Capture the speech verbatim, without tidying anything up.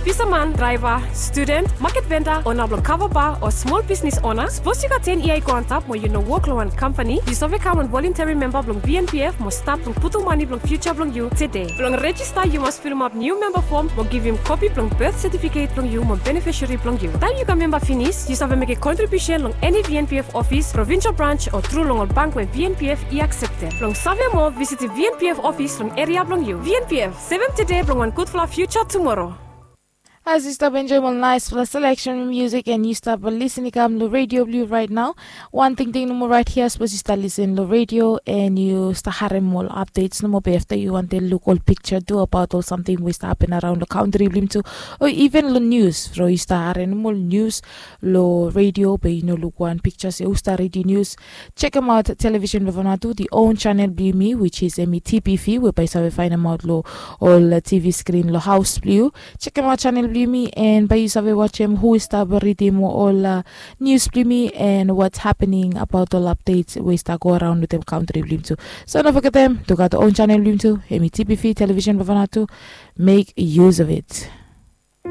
Bisaman, draeva, studen, maket venda, ona blong kava ba o smol bisnis ona, sapos yu gat ten yia i go antap mo yu no wok long wan kampani, yu save kam wan volunterim memba blong V N P F mo stat blong putum mane blong fiuja blong yu tede. Blong rejista yu mas filimap niu memba fom mo givim kopi blong bet setifiket blong yu mo benefisari blong yu. Taem yu kam memba finis, yu save mekem kontribiusen long eni V N P F ofis, provinsel brans o tru long ol bank we V N P F i akseptem. Blong save moa, visitim V N P F ofis long eria blong yu. V N P F, sevem tede blong wan gudfala fiuja tumoro. As yu stap enjoem ol naesfala seleksen musik and yu stap lisin i kam long redio blong yu raet nao, wan tingting nomo raet hia, sapos yu stap lisin long redio and yu stap harem ol apdets nomo, be afta yu wantem luk ol piksa tu abaot ol samting we i stap hapen araon long kantri blong yumi tu, o iven long nius, from yu stap harem nomo ol nius long redio be yu no luk wan piksa se hu stap ridim nius, sekemaot television blong Vanuatu, the own channel blong yumi, which is hemi T P V, we bae yu save faenemaot long ol T V screen long haos blong yu. Sekemaot channel blong yumi and bae yu save wajem hu i stap ridim ol uh, nius blong yumi and what's happening abaot ol updates we i stap go araon wetem kantri blong yumi tu. So no fogetem, to gat own channel blong yumi tu, hemi T P V television blong Vanuatu. Make use of it.